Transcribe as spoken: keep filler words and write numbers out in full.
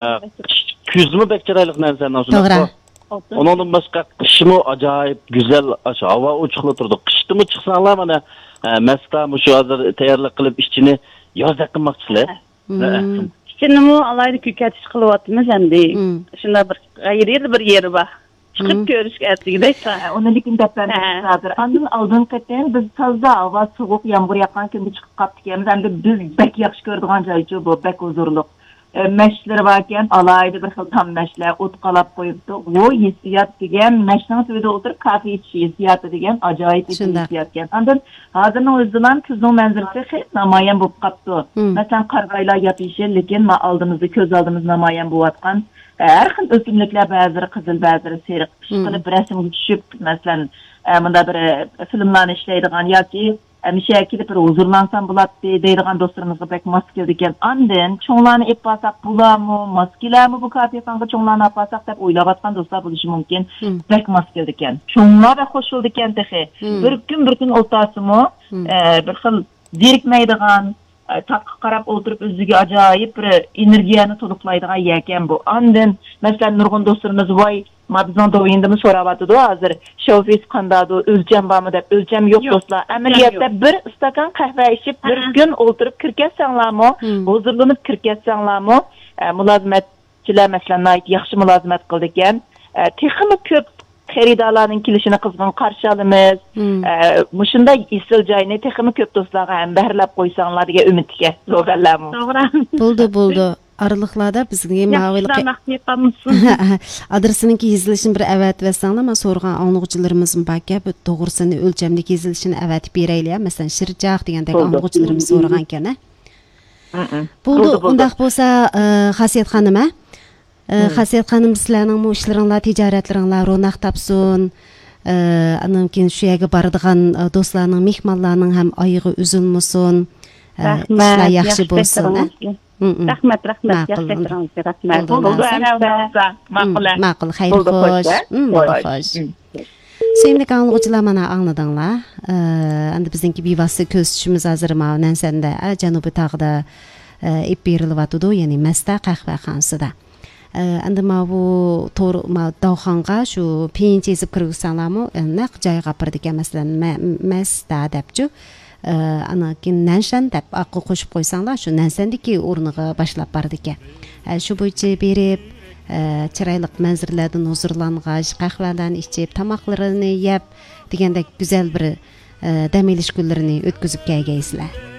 ئە، قىش كۈزمۇ بەك چىرايلىق نەنسەندىن شۇنداق. توغرا. ئۇنىڭدىن باشقا قىشمۇ ئاجايىپ گۈزەل، ئاشۇ ھاۋا ئوچۇقلا تۇرىدۇ. قىشتىمۇ چىقساڭلار مانا، ئە، مەستا مۇشۇ ھازىر تەييارلىق قىلىپ ئىچىنى يازدەك قىلماقچىسىلەر. مم. ئىچىنىمۇ ئالاھىدە كۆكەرتىش قىلىۋاتىمىز ئەمدى. مم. شۇنداق بىر غەيرىي بىر يېرى بار. چىقىپ مم. كۆرۈشكە ئەتىگىدەك. ھە، ئۇنى لېكىن دەپ بەرمەيمىز ھە. ھازىر. ئاندىن ئالدىنقى قېتىم بىز تازا ھاۋا سوغۇق، يامغۇر ياغقان كۈندە چىقىپ قاپتىكەنمىز. ئەمدى بىز بەك ياخشى كۆرىدىغان جايچۇ بۇ، بەك ھۇزۇرلۇق. ئە، مەشلىرى باركەن، ئالاھىدە بىر خىل تام مەشلەر، ئوت قالاپ قويۇپتۇ. بۇ ھېسسىيات دېگەن، مەشنىڭ تۈۋىدە ئولتۇرۇپ كافې ئىچىش ھېسسىياتى دېگەن ئاجايىپ شۇنداق. ھېسسىياتكەن. ئاندىن ھازىرنىڭ ئۆزىدىلا كۈزنىڭ مەنزىرىسى خېلى نامايان بولۇپ قاپتۇ. مم. مەسىلەن، قارىغايلار ياپيېشىل، لېكىن ما ئالدىمىزدا، كۆز ئالدىمىزدا نامايان بولۇۋاتقان، ئە، ھەر خىل ئۆسۈملۈكلەر، بەزىلىرى قىزىل، بەزىلىرى سېرىق، مم. ئىشقىلىپ رەسىمگە چۈشۈپ، مەسىلەن، ئە، مۇنداق بىر، ئە، فىلىملارنى ئىشلەيدىغان ياكى ئەمىشە كېلىپ بىر ھۇزۇرلانسام بولاتتى دەيدىغان دوستلىرىمىزغا بەك ماس كېلىدىكەن. ئاندىن چوڭلارنى ئېلىپ بارساق بولارمۇ، ماس كېلەرمۇ بۇ كافېخانىغا چوڭلارنى ئاپارساق دەپ ئويلاۋاتقان دوستلار بولۇشى مۇمكىن. مم. بەك ماس كېلىدىكەن. چوڭلار بەك خۇش بولىدىكەن تېخى. مم. بىر كۈن، بىر كۈن ئولتۇرسىمۇ، مم. ئە، بىر خىل زېرىكمەيدىغان، ئە، تاغقا قاراپ ئولتۇرۇپ ئۆزىگە ئاجايىپ بىر ئېنېرگىيەنى تولۇقلايدىغان يەركەن بۇ. ئاندىن، مەسىلەن، نۇرغۇن دوستلىرىمىز، ۋاي، ما بىزنىڭ دوۋيىندىمۇ سوراۋاتىدۇ ھازىر، شوفىس قانداقدۇ، ئۆلچەم بارمۇ دەپ. ئۆلچەم يوق، يوق، دوستلار. ئۆلچەم ئەمەلىيەتتە يوق. بىر ئىستاكان قەھۋە ئىچىپ، بىر ھە. كۈن ئولتۇرۇپ كىركەتسەڭلارمۇ، مم. ھۇزۇرلىنىپ كىركەتسەڭلارمۇ، ئە، مۇلازىمەتچىلەر، مەسىلەن، ناھايىتى ياخشى مۇلازىمەت قىلىدىكەن. ئە، تېخىمۇ كۆپ خېرىدارلارنىڭ كېلىشىنى قىزغىن قارشى ئالىمىز. مم. ئە، مۇشۇنداق ئېسىل جاينى تېخىمۇ كۆپ دوستلارغا ھەمبەھىرلەپ قويساڭلار دېگەن ئۈمىدتىكەن، سودەللەرمۇ. توغرا. بولدى، بولدى. ئارىلىقلاردا بىزگە ماۋۇ ياخشىلار مەخپىي قالمىسۇن. ئادرېسىنىڭكى يېزىلىشىنى بىر ئەۋەتىۋەتسەڭلار، مانا سورىغان ئاڭلىغۇچىلىرىمىزمۇ باركەن، بىر توغرىسىنى ئۆلچەملىك يېزىلىشىنى ئەۋەتىپ بېرەيلى، يا، مەسىلەن، شىرچاق دېگەندەك بولدى. ئاڭلىغۇچىلىرىمىز سورىغانكەن، ھە؟ ھە، ھە. بولدى، بولدى، بولدى. ئۇنداق بولسا، ئە، خاسىيەت خانىم، ھە؟ ئە، مم. خاسىيەت خانىم، سىلەرنىڭمۇ ئىشلىرىڭلار، تىجارەتلىرىڭلار روناق تاپسۇن. ئە، ئاندىن كېيىن شۇ يەرگە بارىدىغان، ئە، دوستلارنىڭ، مېھمانلارنىڭ ھەم ئايىغى ئۈزۈلمىسۇن. ئە، رەھمەت، ئىشلار ياخشى ياخشى بولسۇن، ئە؟ ئەتىڭىزگە. مم، مم. رەھمەت، رەھمەت، ماقۇل. ياخشى ئەتىڭىزگە رەھمەت. بولدى، بولدى، ماقۇل. ئەنە، ئۇنداق بولسا، مم، ماقۇل، ھە. ماقۇل، خەير بولدى، خوش، خوش، ھە؟ مم، بولدى، خوش. خوش. مم. سۆيۈملۈك ئاڭلىغۇچىلار، مانا ئاڭلىدىڭلار. ئە، ئەمدى بىزنىڭكى بىۋاسىتە كۆزىتىشىمىز ھازىر ماۋۇ نەنسەندە، ئە، جەنۇبىي تاغدا، ئە، ئېلىپ بېرىلىۋاتىدۇ، يەنى مەستا قەھۋەخانىسىدا. ئە، ئەمدى ماۋۇ تور، ما، داۋخانغا شۇ پېيىنچە يېزىپ كىرگۈزسەڭلارمۇ، ئە، نەق جايغا ئاپىرىدىكەن، مەسىلەن، مە-، مەستا دەپچۇ. ئە، ئاندىن كېيىن نەنشەن دەپ ئارقىغا قوشۇپ قويساڭلار، شۇ نەنشەندىكى ئورنىغا باشلاپ بارىدىكەن. ئە، شۇ بويىچە بېرىپ، ئە، چىرايلىق مەنزىرىلەردىن ھۇزۇرلانغاچ، قەھۋەلەرنى ئىچىپ، تاماقلىرىنى يەپ، دېگەندەك گۈزەل بىر، ئە، دەم ئېلىش كۈنلىرىنى ئۆتكۈزۈپ كەلگەيسىلەر.